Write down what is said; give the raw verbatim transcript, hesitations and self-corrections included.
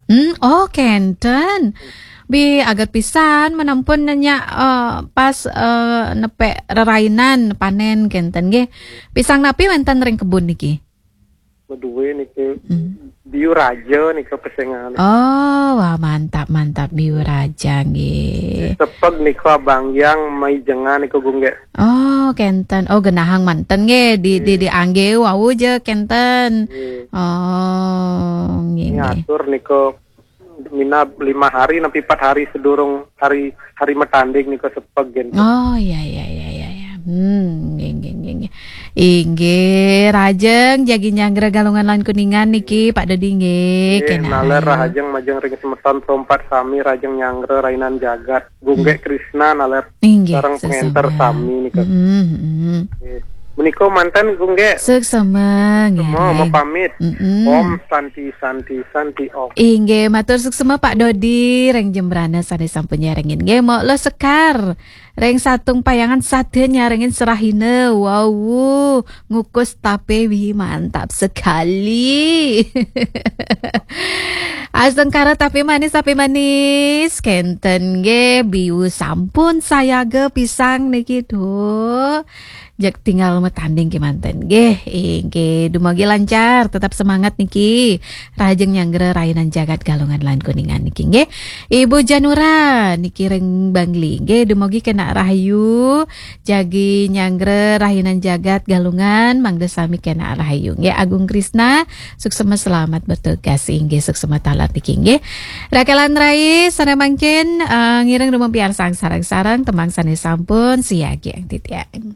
Hmm, oh, kenten. Bi aget pisan menampun nanya, eh, pas, eh, nepe rerainan panen kenten nggih. Pisang napi wenten ring kebun niki? Medue niki. Hmm. Biu raja nika pesengan. Oh, wah, mantap, mantap, biu raja nggih. Sepeg nika abang yang mai jengan nika gungge. Oh, kenten. Oh, genahang manten nggih di, di, hmm, diangge wau ja kenten. Nggih. Oh, nggih, nggih. Ngatur nika mina lima hari nepi empat hari sedurung hari, hari matanding nika sepeg gen. Oh, iya, iya, iya, iya, iya. Hmm, nggih, nggih, nggih, nggih. Inggih, rahajeng jagi nyanggra Galungan lan Kuningan niki, Pak Dodi nggih. Nggih, kenal naler rahajeng majeng ring semeton perompat sami rahajeng nyanggra rainan jagat. Gungge, hmm, Krisna naler, inggih, sareng pengenter sesama sami nika. Mm-mm, mm-mm. Nggih. Menika manten gungge. Suksema, nggih, semua mau pamit. Mm-mm. Om Santi, Santi, Santi, Om. Inggih, matur suksema Pak Dodi, ring jembrana sane sampun nyarengin. Nggih, mok lo sekar. Ring Satung Payangan sada nyarengin serahina. Wau, ngukus tape wi mantap sekali. Astungkara tape manis, tape manis. Kenten nggih, biu sampun sayaga pisang niki, duh. Jeg tinggal matanding kemanten nggih. Inggih, dumogi lancar, tetap semangat niki. Rahajeng nyanggra rainan jagat Galungan lan Kuningan niki nggih. Ibu Janura niki ring Bangli nggih, dumogi kena rahayu. Jagi nyanggra rainan jagat Galungan, mangda sami kena rahayu nggih. Agung Krisna, suksema selamat bertugas inggih, suksema taler niki nggih. Rakelan rai sane mangkin, eh, ngiring rumampiarsang sareng-sareng tembang sane sampun siagiang titiang.